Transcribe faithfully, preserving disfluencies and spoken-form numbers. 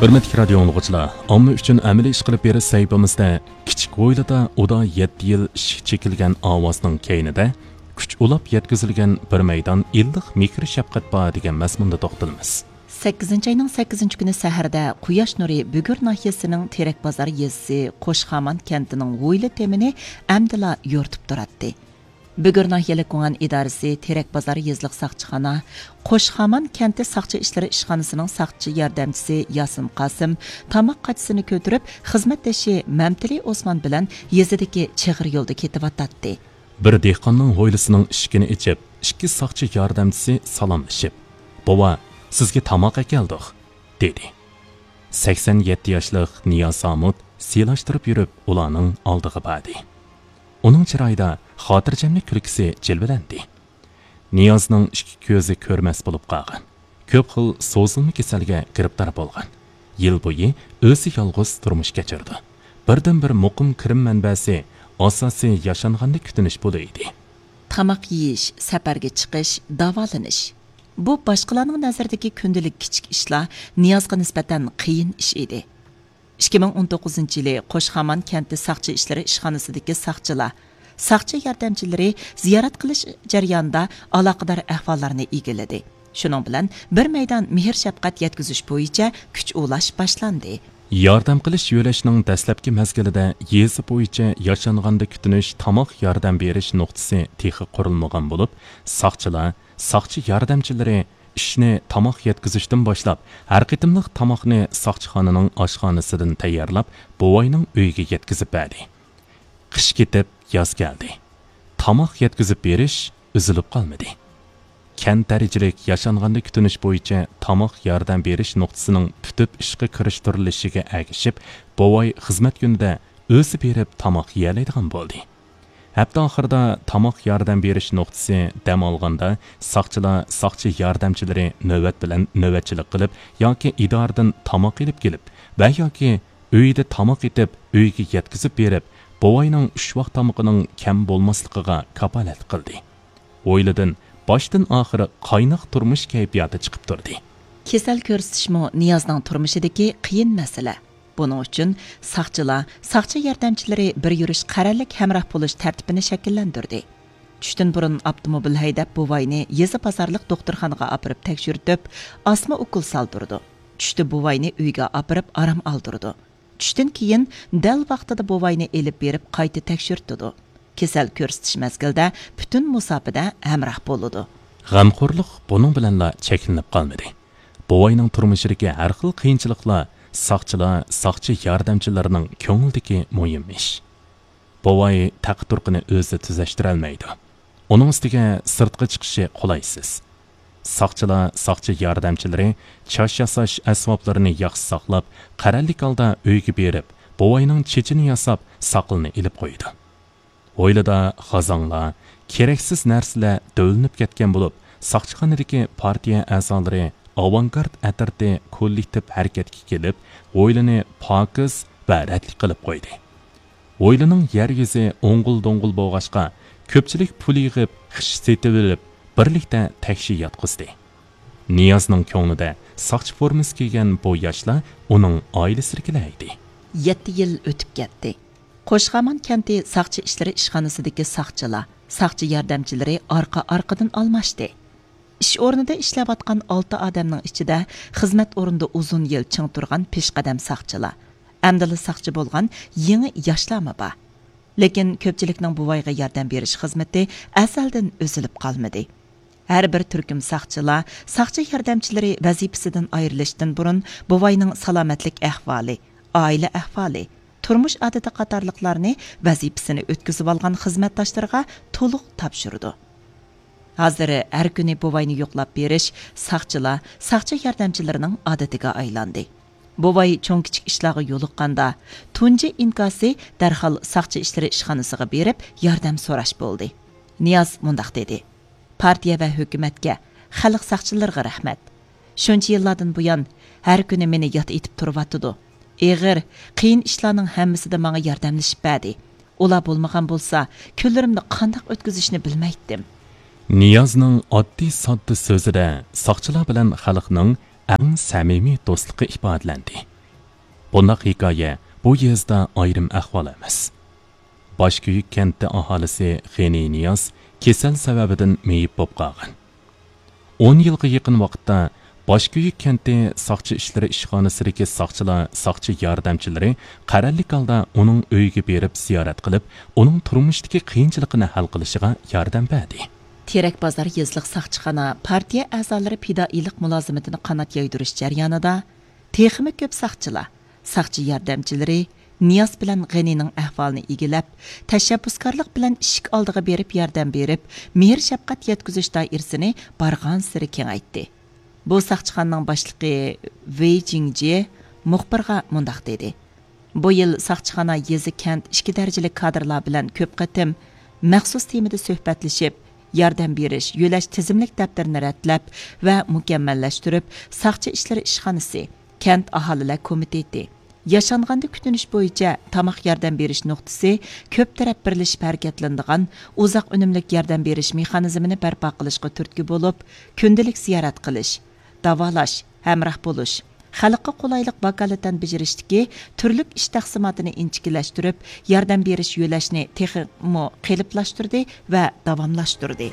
ھۆرمەتلىك رادىيو ئاڭلىغۇچىلار، ئامما ئۈچۈن ئەمەلىي ئىش قىلىپ بېرىش سەھىپىمىزدە كىچىك ھويلىدا ئۇدا يەتتە يىل ئىشىك چېكىلگەن ئاۋازنىڭ كەينىدە كۈچ ئۇلاپ يەتكۈزۈلگەن بىر مەيدان ئىللىق مېھىر-شەپقەت بار دېگەن مەزمۇندا توختىلىمىز. سەككىزىنچى ئاينىڭ سەككىزىنچى كۈنى سەھەردە قۇياش نۇرى بۈگۈر ناھىيەسىنىڭ تېرەك بازار يېزىسى قوشخامان كەنتىنىڭ ھويلا تېمىنى ئەمدىلا يورۇتۇپ تۇراتتى. بۈگۈر ناھىيەلىك گۇڭئەن ئىدارىسى تېرەك بازار يېزىلىق ساقچىخانا، قوشخامان كەنتى ساقچى ئىشلىرى ئىشخانىسىنىڭ ساقچى ياردەمچىسى ياسىن قاسىم تاماق قاچىسىنى كۆتۈرۈپ، خىزمەتدىشى مەمتىلى ئوسمان بىلەن يېزىدىكى چىغىر يولدا كېتىۋاتاتتى. بىر دېھقاننىڭ ھويلىسىنىڭ ئىشىكىنى ئېچىپ، ئىككى ساقچى ياردەمچىسى سالاملىشىپ، «بوۋا، سىزگە تاماق ئەكەلدۇق» دېدى. سەكسەن يەتتە ياشلىق نىياز ھامۇت سىيلاشتۇرۇپ يۈرۈپ ئۇلارنىڭ ئالدىغا باردى. ئۇنىڭ چىرايىدا خاتىرجەملىك كۈلكىسى جىلۋىلەندى. نىيازنىڭ ئىككى كۆزى كۆرمەس بولۇپ قالغان. كۆپ خىل سوزۇلما كېسەلگە گىرىپتار بولغان. يىل بويى ئۆزى يالغۇز تۇرمۇش كەچۈرىدۇ. بىردىنبىر مۇقىم كىرىم مەنبەسى ئاساسىي ياشانغاندا كۈتۈنۈش پۇلى ئىدى. تاماق يېيىش، سەپەرگە چىقىش، داۋالىنىش. بۇ باشقىلارنىڭ نەزىرىدىكى كۈندىلىك كىچىك ئىشلار نىيازغا نىسبەتەن قىيىن ئىش ئىدى. ئىككى مىڭ ئون توققۇزىنچى يىلى قوشخامان كەنتى ساقچى ئىشلىرى ئىشخانىسىدىكى ساقچىلار، ساقچى ياردەمچىلىرى زىيارەت قىلىش جەريانىدا ئالاقىدار ئەھۋاللارنى ئىگىلىدى. شۇنىڭ بىلەن بىر مەيدان مېھىر-شەپقەت يەتكۈزۈش بويىچە كۈچ ئۇلاش باشلاندى. ياردەم قىلىش يۆلەشنىڭ دەسلەپكى مەزگىلىدە يېزا بويىچە ياشانغاندا كۈتۈنۈش تاماق ياردەم بېرىش نۇقتىسى تېخى قۇرۇلمىغان بولۇپ، ساقچىلار، ساقچى ياردەمچىلىرى ئىشنى تاماق يەتكۈزۈشتىن باشلاپ، ھەر قېتىملىق تاماقنى ساقچىخانىنىڭ ئاشخانىسىدىن تەييارلاپ، بوۋاينىڭ ئۆيىگە يەتكۈزۈپ بەردى. قىش كېتىپ، ياز كەلدى. تاماق يەتكۈزۈپ بېرىش ئۈزۈلۈپ قالمىدى. كەنت دەرىجىلىك ياشانغاندا كۈتۈنۈش بويىچە تاماق ياردەم بېرىش نۇقتىسىنىڭ پۈتۈپ ئىشقا كىرىشتۈرۈلۈشىگە ئەگىشىپ، بوۋاي خىزمەت كۈنىدە ئۆزى بېرىپ تاماق يېيەلەيدىغان بولدى. ھەپتە ئاخىرىدا تاماق ياردەم بېرىش نۇقتىسى دەم ئالغاندا، ساقچىلار، ساقچى ياردەمچىلىرى نۆۋەت بىلەن نۆۋەتچىلىك قىلىپ ياكى ئىدارىدىن تاماق ئېلىپ كېلىپ ۋە ياكى ئۆيىدە تاماق ئېتىپ، ئۆيىگە يەتكۈزۈپ بېرىپ، بوۋاينىڭ ئۈچ ۋاق تامىقىنىڭ كەم بولماسلىقىغا كاپالەتلىك قىلدى. ھويلىدىن باشتىن ئاخىر قايناق تۇرمۇش كەيپىياتى چىقىپ تۇردى. كېسەل كۆرسىتىشمۇ نىيازنىڭ تۇرمۇشىدىكى قىيىن مەسىلە. بۇنىڭ ئۈچۈن ساقچىلار، ساقچى ياردەمچىلىرى بىر يۈرۈش قەرەللىك ھەمراھ بولۇش تەرتىپىنى شەكىللەندۈردى. چۈشتىن بۇرۇن ئاپتوموبىل ھەيدەپ، بوۋاينى يېزا بازارلىق دوختۇرخانىغا ئاپىرىپ تەكشۈرتۈپ، ئاسما ئوكۇل سالدۇرىدۇ. چۈشتە بوۋاينى ئۆيگە ئاپىرىپ ئارام ئالدۇرىدۇ. چۈشتىن كېيىن دەل ۋاقتىدا بوۋاينى ئېلىپ بېرىپ قايتا تەكشۈرتىدۇ. كېسەل كۆرسىتىش مەزگىلىدە پۈتۈن مۇساپىدە ھەمراھ بولىدۇ. غەمخورلۇق بۇنىڭ بىلەنلا چەكلىنىپ قالمىدى. بوۋاينىڭ تۇرمۇشىدىكى ھەر خىل قىيىنچىلىقلار ساقچىلار، ساقچى ياردەمچىلىرىنىڭ كۆڭلىدىكى مۇھىم ئىش. بوۋاي تەقە-تۇرقىنى ئۆزى تۈزەشتۈرەلمەيدۇ. ئۇنىڭ ئۈستىگە سىرتقا چىقىشى قولايسىز. ساقچىلار، ساقچى ياردەمچىلىرى چاچ ياساش ئەسۋابلىرىنى ياخشى ساقلاپ، قەرەللىك ھالدا ئۆيگە بېرىپ، بوۋاينىڭ چېچىنى ياساپ، ساقىلىنى ئېلىپ قويىدۇ. ھويلىدا خازاڭلار، كېرەكسىز نەرسىلەر دۆۋىلىنىپ كەتكەن بولۇپ، ساقچىخانىدىكى پارتىيە ئەزالىرى، ئاۋانگارت ئەترىتى كوللېكتىپ ھەرىكەتكە كېلىپ، ھويلىنى پاكىز ۋە رەتلىك قىلىپ قويدى. ھويلىنىڭ يەر يۈزى ئوڭغۇل-دوڭغۇل بولغاچقا، كۆپچىلىك پۇل يىغىپ، خىش سېتىۋېلىپ، بىرلىكتە تەكشى ياتقۇزدى. نىيازنىڭ كۆڭلىدە ساقچى فورمىسى كىيگەن بۇ ياشلار ئۇنىڭ ئائىلىسىدىكىلەر ئىدى. يەتتە يىل ئۆتۈپ كەتتى. قوشخامان كەنتى ساقچى ئىشلىرى ئىشخانىسىدىكى ساقچىلار، ساقچى ياردەمچىلىرى ئارقا-ئارقىدىن ئالماشتى. ئىش ئورنىدا ئىشلەۋاتقان ئالتە ئادەمنىڭ ئىچىدە خىزمەت ئورنىدا ئۇزۇن يىل چىڭ تۇرغان پېشقەدەم ساقچىلار، ئەمدىلا ساقچى بولغان يېڭى ياشلارمۇ بار. لېكىن كۆپچىلىكنىڭ بوۋايغا ياردەم بېرىش خىزمىتى ئەزەلدىن ئۈزۈلۈپ قالمىدى. ھەر بىر تۈركۈم ساقچىلار، ساقچى ياردەمچىلىرى ۋەزىپىسىدىن ئايرىلىشتىن بۇرۇن بوۋاينىڭ سالامەتلىك ئەھۋالى، ئائىلە ئەھۋالى، تۇرمۇش ئادىتى قاتارلىقلارنى ۋەزىپىسىنى ئۆتكۈزۈۋالغان خىزمەتداشلىرىغا تولۇق تاپشۇرىدۇ. ھازىر ھەر كۈنى بوۋاينى يوقلاپ بېرىش ساقچىلار، ساقچى ياردەمچىلىرىنىڭ ئادىتىگە ئايلاندى. بوۋاي چوڭ-كىچىك ئىشلارغا يولۇققاندا، تۇنجى ئىنكاسى دەرھال ساقچى ئىشلىرى ئىشخانىسىغا بېرىپ ياردەم سوراش بولدى. نىياز مۇنداق دېدى: پارتىيە ۋە ھۆكۈمەتكە، خەلق ساقچىلىرىغا رەھمەت. شۇنچە يىللاردىن بۇيان ھەر كۈنى مېنى يات ئېتىپ تۇرۇۋاتىدۇ. ئېغىر، قىيىن ئىشلارنىڭ ھەممىسىدە ماڭا ياردەملىشىپ بەردى. ئۇلار بولمىغان بولسا، كۈنلىرىمنى قانداق ئۆتكۈزۈشنى بىلمەيتتىم. نىيازنىڭ ئاددىي-ساددا سۆزىدە ساقچىلار بىلەن خەلقنىڭ ئەڭ سەمىمىي دوستلۇقى ئىپادىلەندى. بۇنداق ھېكايە بۇ يېزىدا ئايرىم ئەھۋال ئەمەس. باشكۆيۈك كەنتى ئاھالىسى غېنى نىياز كېسەل سەۋەبىدىن مېيىپ بولۇپ قالغان. ئون يىلغا يېقىن ۋاقىتتا باشكۆيۈك كەنتى ساقچى ئىشلىرى ئىشخانىسىدىكى ساقچىلار، ساقچى ياردەمچىلىرى قەرەللىك ھالدا ئۇنىڭ ئۆيىگە بېرىپ زىيارەت قىلىپ، ئۇنىڭ تۇرمۇشتىكى قىيىنچىلىقىنى ھەل قىلىشىغا ياردەم بەردى. تېرەك بازار يېزىلىق ساقچىخانا پارتىيە ئەزالىرى پىدائىيلىق مۇلازىمىتىنى قانات يايدۇرۇش جەريانىدا، تېخىمۇ كۆپ ساقچىلار، ساقچى ياردەمچىلىرى نىياز بىلەن غېنىنىڭ ئەھۋالىنى ئىگىلەپ، تەشەببۇسكارلىق بىلەن ئىشىك ئالدىغا بېرىپ ياردەم بېرىپ، مېھىر-شەپقەت يەتكۈزۈش دائىرىسىنى بارغانسېرى كېڭەيتتى. بۇ ساقچىخانىنىڭ باشلىقى ۋېي جىڭجيې مۇخبىرغا مۇنداق دېدى: بۇ يىل ساقچىخانا يېزا، كەنت ئىككى دەرىجىلىك كادىرلار بىلەن كۆپ قېتىم مەخسۇس تېمىدا سۆھبەتلىشىپ، ياردەم بېرىش، يۆلەش تىزىملىك دەپتىرىنى رەتلەپ ۋە مۇكەممەللەشتۈرۈپ، ساقچى ئىشلىرى ئىشخانىسى، كەنت ئاھالىلەر كومىتېتى، ياشانغاندا كۈتۈنۈش بويىچە تاماق ياردەم بېرىش نۇقتىسى، كۆپ تەرەپ بىرلىشىپ ھەرىكەتلىنىدىغان ئۇزاق ئۈنۈملۈك ياردەم بېرىش مېخانىزمىنى بەرپا قىلىشقا تۈرتكە بولۇپ، كۈندىلىك زىيارەت قىلىش، داۋالاش، ھەمراھ بولۇش، خەلققە قولايلىق ۋاكالىتەن بېجىرىشتىكى تۈرلۈك ئىش تەقسىماتىنى ئىنچىكىلەشتۈرۈپ، ياردەم بېرىش يۆلەشنى تېخىمۇ قېلىپلاشتۇردى ۋە داۋاملاشتۇردى.